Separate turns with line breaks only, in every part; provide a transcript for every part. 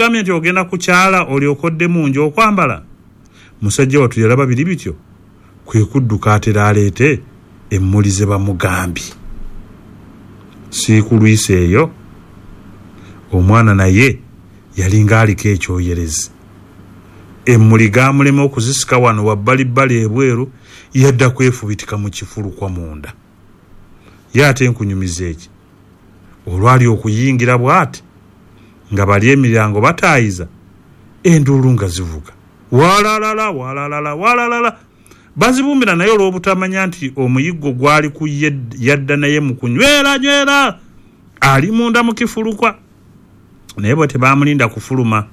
Bakugambye nti ogenda kukyala olyoke odde mu nju okwambala? Musajja wattu yalaba biri bityo kwe kudduka atera aleete emmuli ze bamugambye. Siikulwisa eyo omwana naye yalinga aliko ekyoyerezi. Emmuli gaamulema okuzisika wano wabbalibbali ebweru yadda kwefubitika mu kifulukwa munda. Ye ate nkunyumiza eki? Olwali okuyingira bw'ati nga bali emiryango bataayiza, enduulu nga zivuga. Walalala, walalala, walalala! Bazibumbira naye olw'obutamanya nti omuyiggo gwali ku ye yadda naye mu kunywera nywera ali munda mu kifulukwa. Naye bo tebaamulinda kufuluma.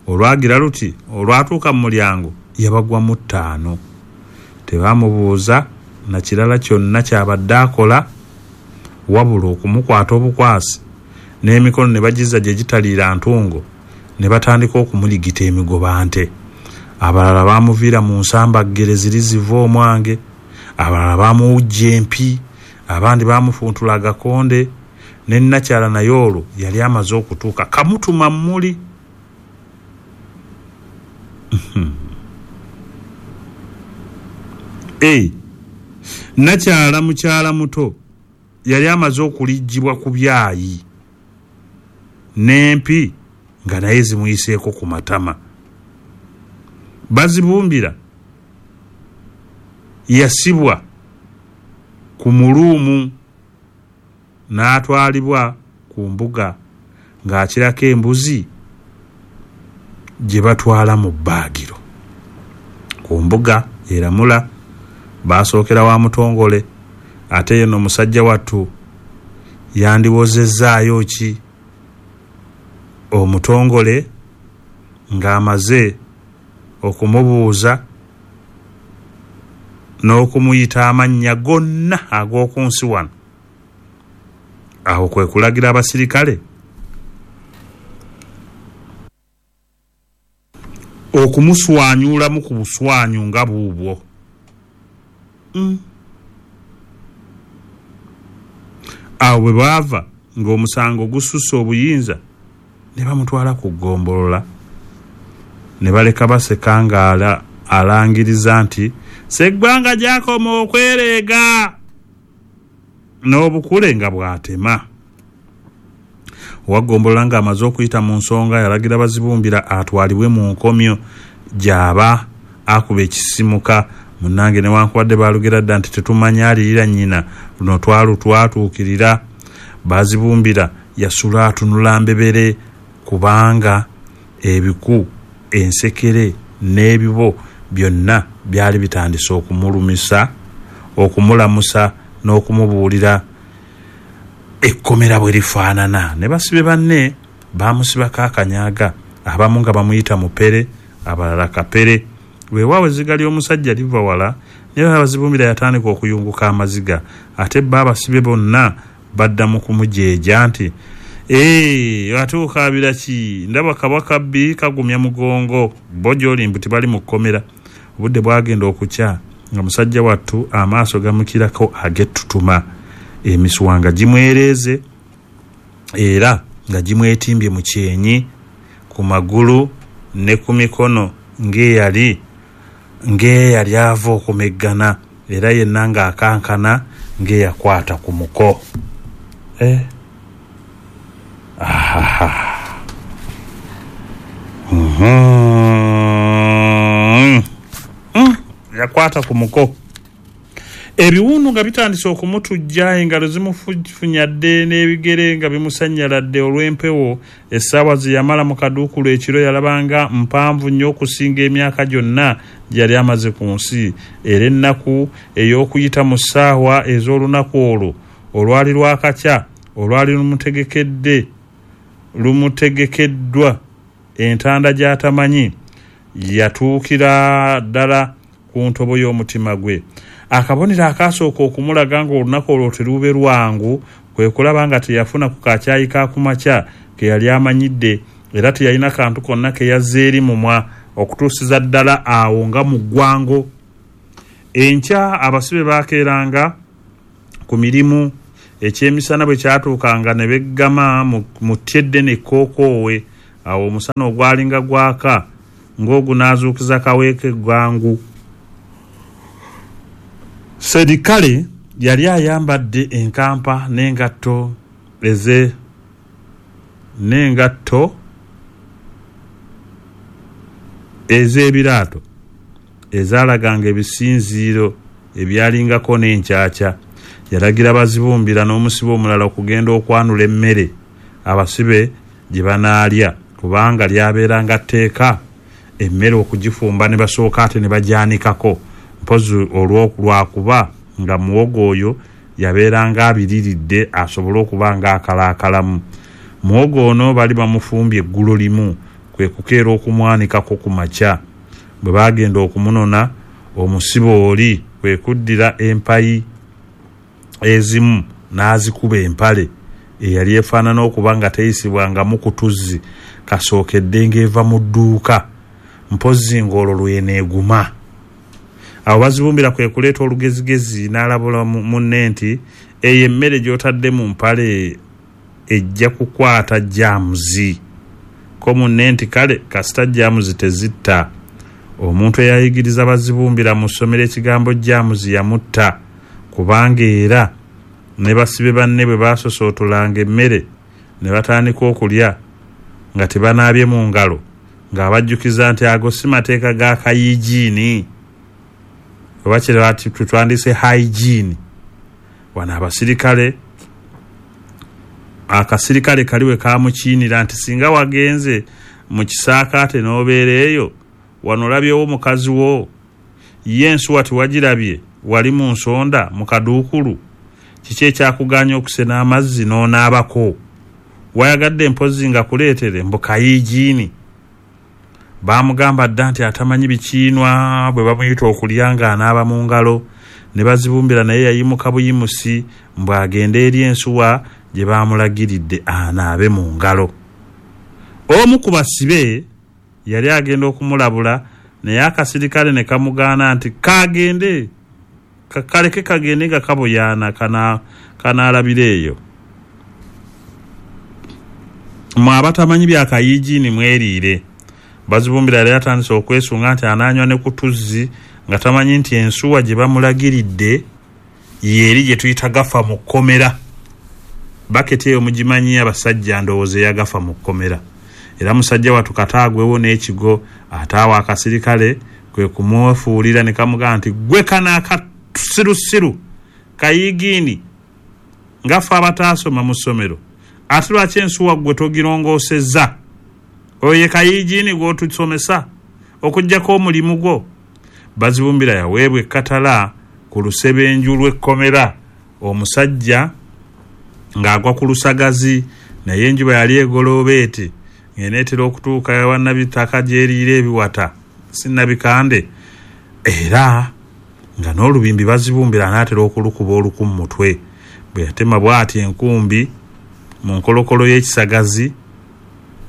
Olwagira luti olwatuuka mu mulyango yabagwamu ttaano. Tebaamubuuza na kirala kyonna ky'abadde akola wabula okumukwata obukwasi n'emikono ne bagizza gye gitaliira ntungo ne batandika okumuligita emigobante. Abalala baamuviira mu nsambaggere ziri ziva omwange, abalala baamuwujja empi, abandi baamufuntula agakonde ne nnakyala naye olwo yali amaze okutuuka kamutuma mmuli. Eeh nnakyala mukyala muto yali amaze okuliggyibwa ku byayi n'empi nga naye zimuyiseeko ku matama. Bazibumbira yasibwa ku muluumu n'atwalibwa ku mbuga ng'akirako embuzi gye batwala mu bbaagiro. Ku mbuga eramula baasookera wa Mutongole ate ye no musajja wattu yandiwozezzaayo ki? Omutongole ng'amaze okumubuuza n'okumuyita amannya gonna ag'oku nsi wano, awo kwe kulagira abasirikale okumuswanyuulamu ku buswanyu nga buubwo. Awo bwe baava ng'omusango gususse obuyinza ne bamutwala ku ggombolola ne baleka baseka nga alangiriza nti Sseggwanga gy'akoma okwereega n'obukule nga bw'atema. Owa ggombolola ng'amaze okuyita mu nsonga yalagira Bazibumbira atwalibwe mu nkomyo gy'aba akuba ekisisimuka. Munnange newankubadde baalugera dda nti tetumanya alirira nnyina, luno twalutwatuukirira. Bazibumbira yasula atunula mbebere kubanga ebiku, ensekere n'ebibo byonna byali bitandise okumulumisa, okumulamusa n'okumubuulira ekkomera bwe lifaanana. Ne basibe banne baamusibako akanyaaga, abamu nga bamuyita Mupere, abalala Kapere. Weewaawo ezziga ly'omusajja liva wala, naye Bazibumbira yatandika okuyunguka amaziga ate bo abasibe bonna badda mu kumujeeja nti, Eeh, ate okaabira ki? Ndaba kabwa kabbi kagumya mugongo. Bo gy'oli mbu tibali mu kkomera. Obudde bwagenda okukya nga musajja wattu amaaso gamukirako ag'ettutuma, emisuwa nga gimwereeze era nga gimwetimbye mu kyenyi, ku magulu ni ku mikono ng'eyali ng'eyali ava okumeggana, era yenna ng'akankana ng'eyakwata ku muko. Eh! Ahaha! Uhmm! Yakwata ku muko. Ebiwundu nga bitandise okumutujja, engalo zimufunyadde n'ebigere nga bimusannyaladde olw'empewo. Essaawa ze yamala mu kaduukulu ekiro yalaba nga mpanvu nnyo okusinga emyaka gyonna gye yali amaze ku nsi. Era ennaku ey'okuyita mu ssaawa ez'olunaku olwo olwali lwakakya olwali lumutegekedde lumutegekeddwa entanda gy'atamanyi yatuukira ddala ku ntobo y'omutima gwe. Akabonero akaasooka okumulaga ng'olunaku olwo teruube lwangu kwe kulaba nga teyafuna ku ka caayi ka ku makya ke yali amanyidde era teyalina kantu konna ke yazza eri mumwa okutuusiza ddala awo nga mu ggwango. Enkya abasibe baakeeranga ku mirimu, ekyemisana bwe kyatuukanga ne beggama mu tti eddene ekkookoowe. Awo omusana ogwalinga gwaka ng'ogunaazuukiza Kaweeka eggangu. Serikale yali ayambadde enkampa n'engatto eze n'engatto ez'ebiraato ezaalaganga ebisinziiro ebyalingako n'enkyakya. Yalagira Bazibumbira n'omusibe omulala okugenda okwanula emmere abasibe gye banaalya kubanga lyabeeranga tteeka emmere okugifumba ne basooka ate ne bagyanikako mpozzi olwo lwakuba nga muwogo oyo yabeeranga abiriridde asobole okuba nga akalaakalamu. Muwogo ono bali bamufumbye eggulo limu kwe kukeera okumwanikako ku makya. Bwe baagenda okumunona omusibe oli kwe kuddira empayi ezimu n'azikuba empale eyali efaanana okuba nga teyisibwangamu ku tuzzi kasookedde ng'eva mu dduuka mpozzi ng'olwo lw'eneeguma. Awo Bazibumbira kwe kuleeta olugezigezi n'alabula munne nti, Eyo emmere gy'otadde mu mpale ejja kukwata jaamuzi. Ko munne nti, Kale kasita jaamuzi tezitta. Omuntu eyayigiriza Bazibumbira mu ssomero ekigambo jaamuzi yamutta kubanga era ne basibe banne bwe baasosootolanga emmere ne batandika okulya nga tebanaabye mu ngalo ng'abajjukiza nti ago si mateeka ga kayigiini oba kye twandiyise hygiene. Wano abasirikale akasirikale kali we kaamukiinira nti singa wagenze mu kisaakaate n'obeera eyo wano olabyewo mukazi wo ye ensuwa tewagirabye wali mu nsonda mu kaduukulu kiki ekyakugaanya okusena amazzi n'onaabako wayagadde mpozzi nga kuleetere mbu kayiigiini baamugamba dda nti atamanyi bikiinwa bwe bamuyita okulya ng'anaaba mu ngalo ne Bazibumbira naye yayimuka buyimusi mbu agende eri ensuwa gye baamulagiridde anaabe mu ngalo. Omu ku basibe yali agenda okumulabula naye akasirikale ne kamugaana nti kagende kaleke kagende nga kaboyaana kanaalabira eyo. Mwe abatamanyi bya kayiigiini mweriire. Bazibumbira yali atandise okwesunga nti anaanywa ne ku tuzzi nga tamanyi nti ensuwa gye bamulagiridde y'eri gye tuyita gafa mu kkomera. Baketi eyo mugimanyi abasajja ndowooza eyagafa mu kkomera. Era musajja wattu kata agwewo n'ekigo ate awo akasirikale kwe kumwefuulira ne kamugamba nti ggwe kano akasirusiru kayiigiini nga ffe abataasoma mu ssomero ate lwaki ensuwa ggwe togirongoosezza? Oyo ye kayiigiini gw'otusomesa okuggyako omulimu gwo? Bazibumbira yaweebwa ekkatala ku lusebenju lw'ekkomera omusajja ng'agwa ku lusagazi naye enjuba yali egolooba eti ng'eneetera okutuuka ewa Nabitaka gy'eriira ebiwata si Nabikande era nga n'olubimbi Bazibumbira anaatera okulukuba oluku mu mutwe bwe yatema bw'ati enkumbi mu nkolokolo y'ekisagazi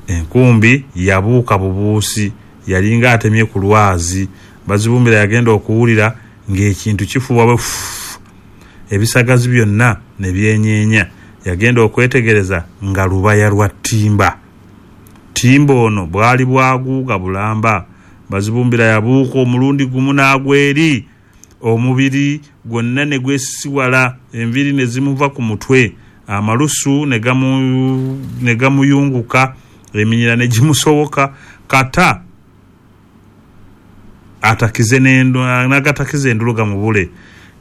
enkumbi yabuuka bubuusi yalinga atemye ku lwazi Bazibumbira yagenda okuwulira ng'ekintu kifuuwa bwe ffuu ebisagazi byonna ne byenyeenya. Yagenda okwetegereza nga lubaya lwa ttimba. Ttimba ono bwali bwaguuga bulamba. Bazibumbira yabuuka omulundi gumu n'agwa eri, omubiri gwonna ne gwesisiwala, enviiri ne zimuva ku mutwe, amalusu ne gamuyunguka, eminyira ne gimusowoka kata atakize n'agatakiza enduulu gamubule.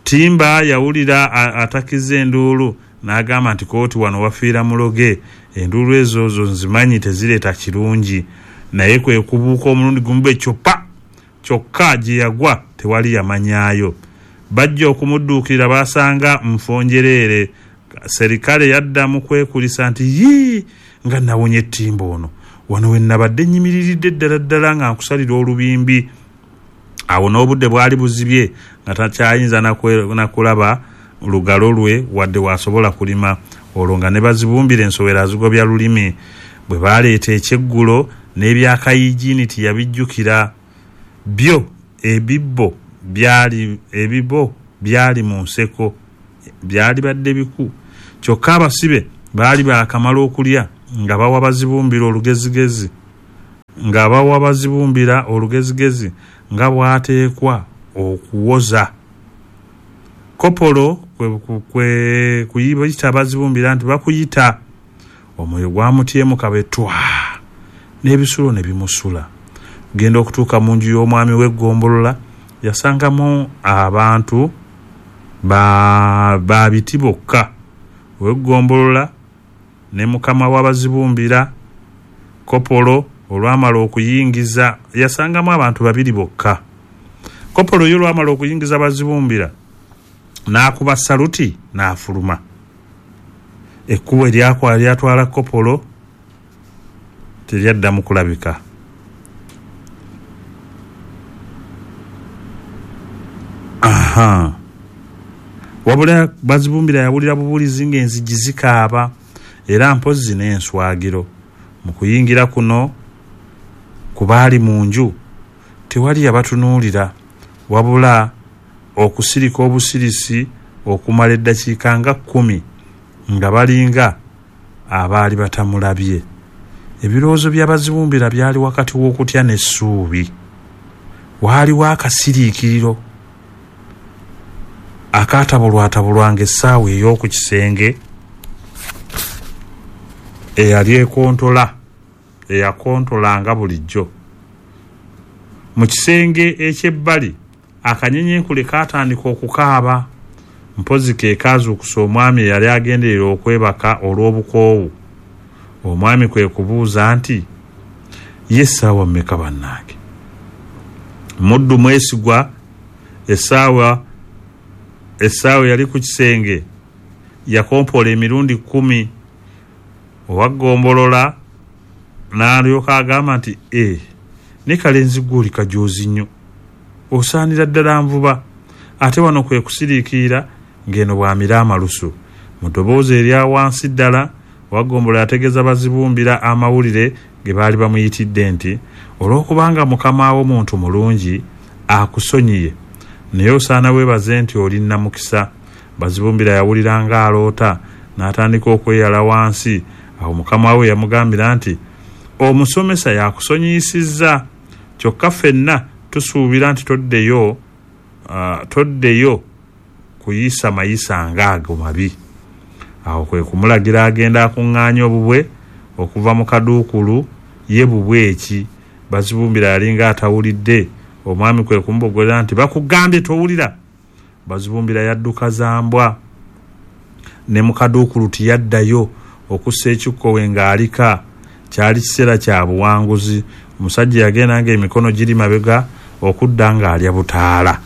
Ttimba yawulira atakiza enduulu n'agamba nti kooti wano wafiira muloge, enduulu ezo zo nzimanyi tezireeta kirungi. Naye kwe kubuuka omulundi gumu bwe kityo pa! Kyokka gye yagwa tewali yamanyaayo. Bajja okumudduukirira baasanga nfo njereere. Serikale yadda mu kwekulisa nti, Yii! Nga nawonye ttimba ono! Wano we nnabadde nnyimiriridde ddala ddala nga nkusalira olubimbi. Awo n'obudde bwali buzibye nga takyayinza na kulaba lugalo lwe wadde w'asobola kulima. Olwo nga ne Bazibumbira ensowera azigobya lulimi. Bwe baaleeta ekyeggulo n'ebya Kayigiini teyabijjukira. Byo ebibbo byali ebibo byali mu nseko byalibadde biku. Kyokka abasibe baali baakamala okulya nga bawa Bazibumbira olugezigezi. Nga bawa Bazibumbira olugezigezi nga bw'ateekwa okuwoza. Kopolo kwe kuyita Bazibumbira nti bakuyita. Omwoyo gwamutyemuka bwe twa n'ebisulo ne bimusula. Genda okutuuka mu nju y'omwami w'eggombolola yasangamu abantu ba biti bokka. Ow'eggombolola ne mukama wa Bazibumbira. Kopolo olwamala okuyingiza yasangamu abantu babiri bokka. Kopolo ye olwamala okuyingiza Bazibumbira n'akuba saluti n'afuluma. Ekkubo eryatwala Kopolo teryaddamu kulabika. Aha. Wabula Bazibumbira yawulira bubulizi ng'enzigi zikaaba era mpozzi n'enswagiro. Mu kuyingira kuno ku baali mu nju tewali yabatunuulira wabula okusirika obusirisi okumala eddakiika nga 10 nga balinga abaali batamulabye. Ebirowoozo bya Bazibumbira byali wakati w'okutya n'essuubi. Waaliwo akasiriikiriro akaatabulwatabulwanga essaawa ey'oku kisenge eyali ekontola eyakontolanga bulijjo. Mu kisenge eky'ebbali akanyenyenkule kaatandika okukaaba. Mpozzi ke kaazuukusa omwami eyali agenderera okwebaka olw'obukoowu. Omwami kwe kubuuza nti, ye essaawa mmeka bannange? Muddu mwesigwa essaawa eyali ku kisenge yakompola emirundi 10. Owaggombolola n'alyoka agamba nti, ne kalenzi ggwe oli kajoozi nnyo, osaanira ddala nvuba. Ate wano kwe kusiriikirira ng'eno bw'amira amalusu. Mu ddoboozi erya wansi ddala owaggombolola yategeeza Bazibumbira amawulire ge baali bamuyitidde nti, olw'okubanga mukama wo muntu mulungi akusonyiye, naye osaana weebaze nti oli nnamukisa. Bazibumbira yawulira ng'aloota n'atandika okweyala wansi. Awo mukama we yamugambira nti, omusomesa yakusonyiyisizza, kyokka ffenna tusuubira nti toddeyo kuyisa mayisa ng'ago mabi. Awo kwe kumulagira agenda akuŋŋaanye obubwe okuva mu kaduukulu ye bubwe eki. Bazibumbira yalinga atawulidde. Omwami kwe kumubogolera nti, bakugambye towulira. Bazibumbira yadduka zambwa ne mu kaduukulu tiyaddayo okussa ekikkowe ng'alika. Kyali kiseera kya buwanguzi. Omusajja yagenda ng'emikono giri mabega okudda ng'alya butaala.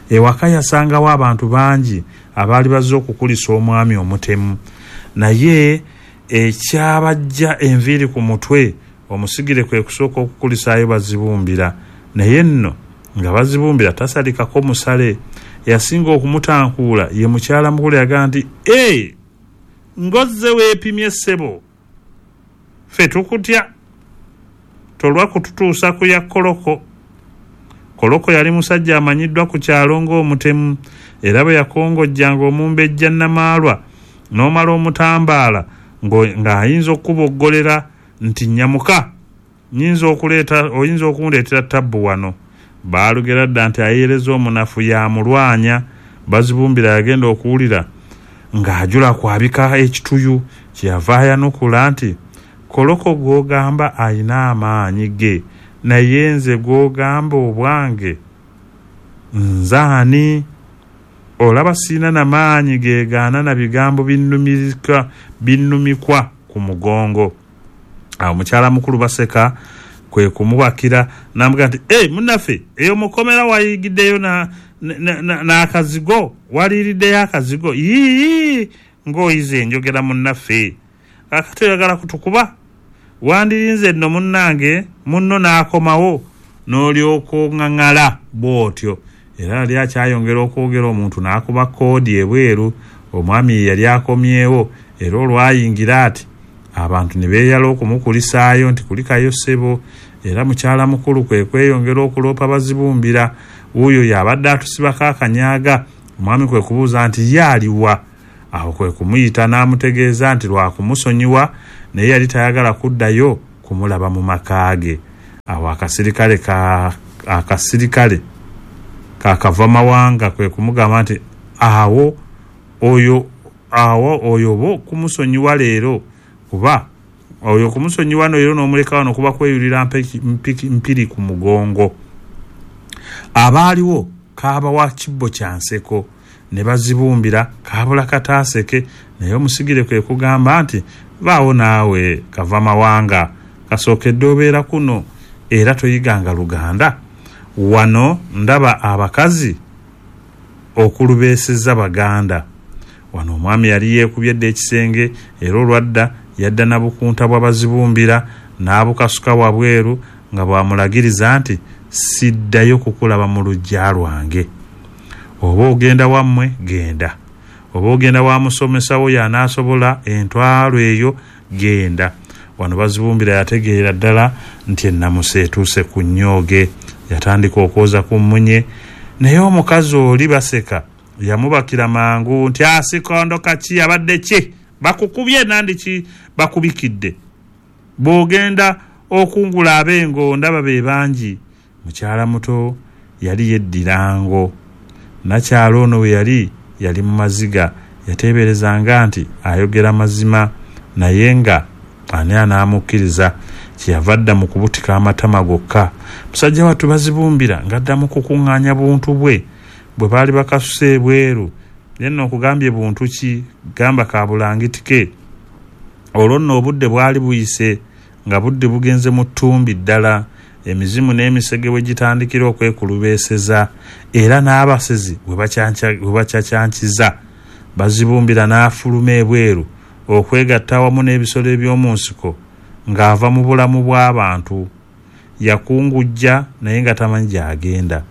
Ewaka yasangawo abantu bangi abaali bazze okukulisa omwami omutemu. Naye ekyabajja enviiri ku mutwe omusigire kwe kusooka okukulisaayo Bazibumbira. Naye nno nga Bazibumbira tasalikako musale. Yasinga okumutankuula ye mukyala mukulu yagamba nti, ng'ozze weepimye ssebo, ffe tukutya, tolwa kututuusa ku ya Koloko. Koloko yali musajja amanyiddwa ku kyalo ng'omutemu, era bwe yakongojjanga omumbejja Namaalwa n'omala omutambaala ng'ayinza okuboggolera nti nnyamuka, oyinza okundeetera tabbu wano. Baalugera dda nti ayeereza omunafu y'amulwanya. Bazibumbira yagenda okuwulira ng'ajula kwabika ekituyu, kyeyava ayanukula nti, Koloko gw'ogamba ayina amaanyi ge, naye nze gw'ogamba obwange nze ani? Olaba sirina na maanyi geegaana na bigambo binnumikwa ku mugongo. Awo mukyala mukulu baseka kwe kumubakira n'amugamba nti, munnaffe, eyo mukomera wayigiddeyo n'akazigo, waliiriddeyo akazigo, yii ng'oyize enjogera munnaffe. Kaakati oyagala kutukuba? Wandirinze nno munnange munno n'akomawo n'olyoka oŋŋaŋala bw'otyo. Era yali akyayongera okwogera omuntu n'akuba koodi ebweru. Omwami ye yali akomyewo era olwayingira ati abantu ne beeyala okumukulisaayo nti kulikayo ssebo. Era mukyala mukulu kwe kweyongera okuloopa Bazibumbira. Wuuyo y'abadde atusibako akanyaaga. Omwami kwe kubuuza nti ye aliwa? Awo kwe kumuyita n'amutegeeza nti lwa kumusonyiwa, naye yali tayagala kuddayo kumulaba mu maka ge. Awo akasirikale kakava mawanga kwe kumugamba nti awo oyo oba kumusonyiwa leero, kuba oyo kumusonyiwa no leero n'omuleka wano kuba kweyulira mpiri ku mugongo. Abaaliwo kaabawa kibbo kya nseko ne bazibumbira kaabula kataaseke, naye omusigire kwe kugamba nti vaawo naawe kava mawanga, kasookedde obeera kuno era toyiganga Luganda. Wano ndaba abakazi okulubeeseza Baganda. Wano omwami yali yeekubye dda ekisenge, era olwadda yadda na bukunta bwa bazibumbira n'abukasuka wabweru nga bw'amulagiriza nti siddayo kukulaba mu luggya lwange. Oba ogenda wammwe genda, oba ogenda wa musomesawo y'anaasobola entwalo eyo genda. Wano bazibumbira yategeera ddala nti ennamusa etuuse ku nnyooge. Yatandika okwoza ku mmunye, naye omukazi oli baseka yamubakira mangu nti asikondo kaki abadde ki bakukubye nandi ki bakubikidde, bw'ogenda okungula ab'engo ndaba be bangi. Mukyala muto yali yeddirango, nakyala ono we yali mu maziga. Yateeberezanga nti ayogera mazima, naye nga ani anaamukkiriza? Kyeyava adda mu kubutika amatama gokka. Musajja wattu bazibumbira ng'addamu kukuŋŋaanya buntu bwe bwe baali bakasuse ebweru. Ye nno okugambye buntu ki, gamba kabulangiti ke. Olwo nno obudde bwali buyise nga budde bugenze mu ttumbi ddala, emizimu n'emisege we gitandikira okwekulubeeseza, era n'abasezi we bakyakyankiza. Bazibumbira n'afuluma ebweru okwegatta awamu n'ebisolo eby'omu nsiko ng'ava mu bulamu bw'abantu. Yakungujja naye nga tamanyi gy'agenda.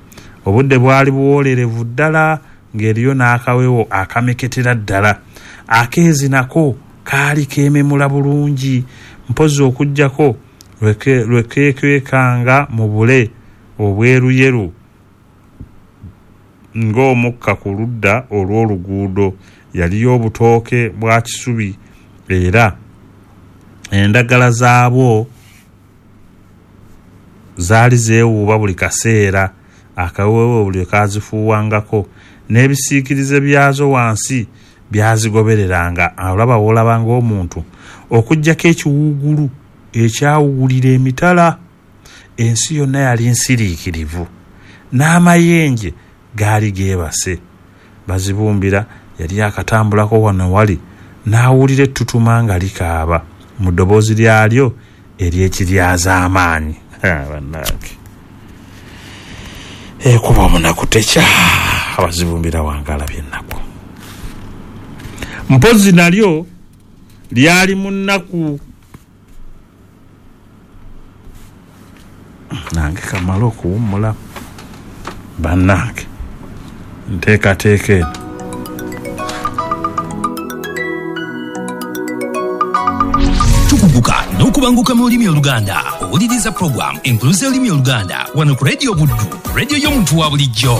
Obudde bwali buwoolerevu ddala ng'eriyo n'akawewo akameketera ddala. Akeezi nako kaali keememula bulungi, mpozzi okuggyako lwe keekwekanga mu bule obweruyeru ng'omukka ku ludda olw'oluguudo. Yaliyo obutooke bwa kisubi era endagala zaabwo zaali zeewuuba buli kaseera. Akaweewo buli kazifuuwangako n'ebisiikirize byazo wansi byazigobereranga. Olaba w'olaba ng'omuntu okuggyako ekiwuugulu ekyawuulira emitala. Ensi yonna yali nsiriikirivu n'amayenje gaali geebase. Bazibumbira yali akatambulako wano wali n'awulira ettutuma nga likaaba mu ddoboozi lyalyo ery'ekiryazaamaanyi. Bannange, ekuba omunaku tekya. Abazibumbira wange alabye ennaku. Mpozzi nalyo lyali mu nnaku. Nange kamale okuwummula bannange, nteekateeka eno.
Tukuguka n'okubanguka mu lulimi Oluganda. Owuliriza program Enkuluze y'olulimi Oluganda wano ku Radio Buddu, radio y'omuntu wa bulijjo.